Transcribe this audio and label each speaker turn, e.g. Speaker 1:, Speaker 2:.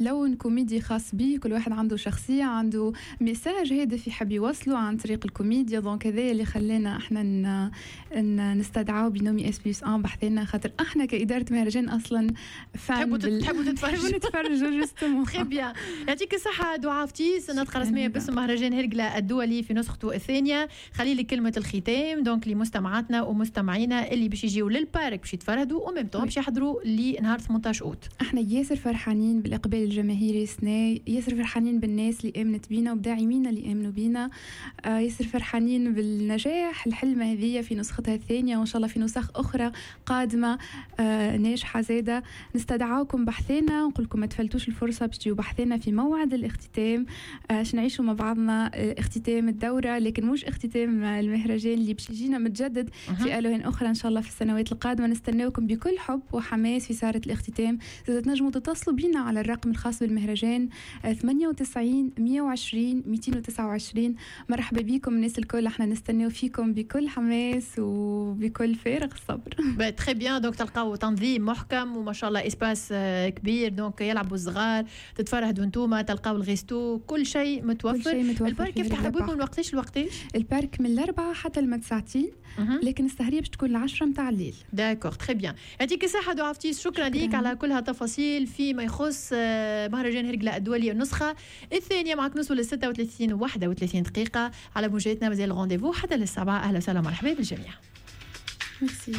Speaker 1: لون كوميدي خاص به، كل واحد عنده شخصيه، عنده message هادف يحب يوصله عن طريق الكوميديا. donc هذا اللي خلانا احنا نستدعوا binôme S plus 1 بحذانا، خاطر احنا كادارة مهرجان اصلا
Speaker 2: fans تحبوا تتفرجوا.
Speaker 1: نتفرجوا justement.
Speaker 2: très bien، يعطيك الصحة دعاء فتيس، الناطقة الرسمية باسم مهرجان هرقله الدولي في نسخته الثانيه. خلي لي كلمة الختام donc لمستمعاتنا ومستمعينا اللي باش يجيو لل parc باش يتفرهدوا و même temps باش يحضروا لنهار 18 اوت.
Speaker 1: احنا ياسر فرحانين بالاقبال الجماهيري السنة، ياسر فرحانين بالناس اللي امنت بينا وبداعمينا اللي امنوا بينا، ياسر فرحانين بالنجاح الحلمة هذه في نسختها الثانيه، وان شاء الله في نسخ اخرى قادمة ناجحة زاده. نستدعاكم بحذانا، نقول لكم ما تفلتوش الفرصة باش تجيو بحذانا في موعد الاختتام، باش نعيشوا مع بعضنا اختتام الدوره، لكن مش اختتام المهرجان اللي باش يجينا متجدد في الوان اخرى ان شاء الله في السنوات القادمه. نستناوكم بكل حب وحماس في سهره الاختتام. زاد تنجموا تتصلوا بينا على الرقم الخاص بالمهرجان 98 120 229. مرحبا بكم الناس الكل، احنا نستناو فيكم بكل حماس وبكل فارغ الصبر.
Speaker 2: très bien، donc تلقاو تنظيم محكم وما شاء الله espace كبير، donc يلعبوا الصغار، تتفرهدوا انتوما، تلقاو ال resto، كل شيء متوفر.
Speaker 1: كل شيء متوفر.
Speaker 2: ال parc يفتح ابوابه من وقتاش لوقتاش؟
Speaker 1: ال parc من 4 حتى لما 9، لكن السهريه باش تكون 10 متاع الليل.
Speaker 2: d'accord، très bien، يعطيك الصحة دعاء فتيس، شكرا ليك على كل هالتفاصيل فيما يخص مهرجان هرقلة الدولي النسخة الثانية. معك نوصل ل 36 31 دقيقة على موجاتنا، مازال ال rendez-vous حتى لل7. أهلا وسهلا ومرحبا بالجميع.
Speaker 1: ميرسي.